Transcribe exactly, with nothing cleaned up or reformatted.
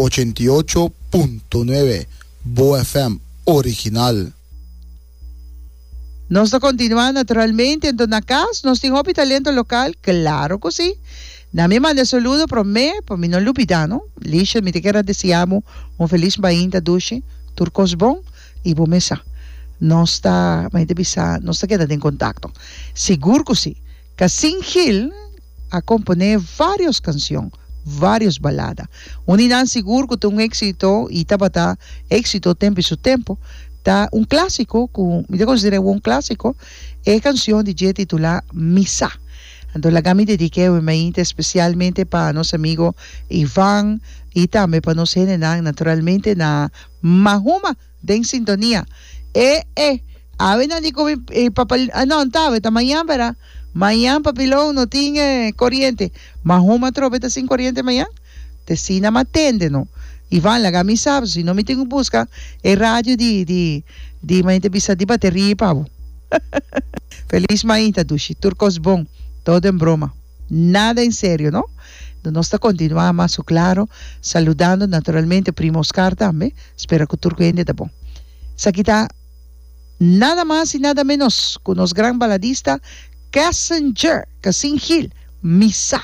Ochenta i ocho punto nuebe Bo F M original. Nos ta kontinuá naturalmente, anto na kas nos tin hopi talento lokal, klaro ku sí. Na mi manda saludo promé pa mi no lubidá, no. Lisha, mi ta kier a deseá bo un felis mainta dushi, tur kos bon i bo mesa. Nos ta, mi ta bisa, nos ta keda den kontakto. Sigur ku sí. Casin Gil a komponé vários kanshon, vários balada. Un di nan sigur ku ta un éksito i tabata éksito tempu i su tempu, ta un klásiko ku mi ta konsider'é un klásiko, e kanshon di dje titulá Mi Sa. Anto laga mi dedik'é awe mainta espesialmente pa nos amigo Ivan i tambe pa nos hendenan naturalmente na Mahuma den sintonia. E e awe nan di ku mi e papa no ta awe ta mañan bera mañan papilon no tin koriente. Mahuma atrobe ta sin koriente mañan? Te sina m'a tende no. Ivan laga mi sa si no mi tin ku buska e radio di di di mainta bisa di bateria pa bo. Feliz mainta dushi tur kos bon todo en broma nada en serio no. Nos ta continua mas su claro saludando naturalmente primo Oscar tambe spera ku tur hende ta bon. Esaki ta nada mas y nada menos ku nos gran baladista Cassinger Cassin Gil mi sa.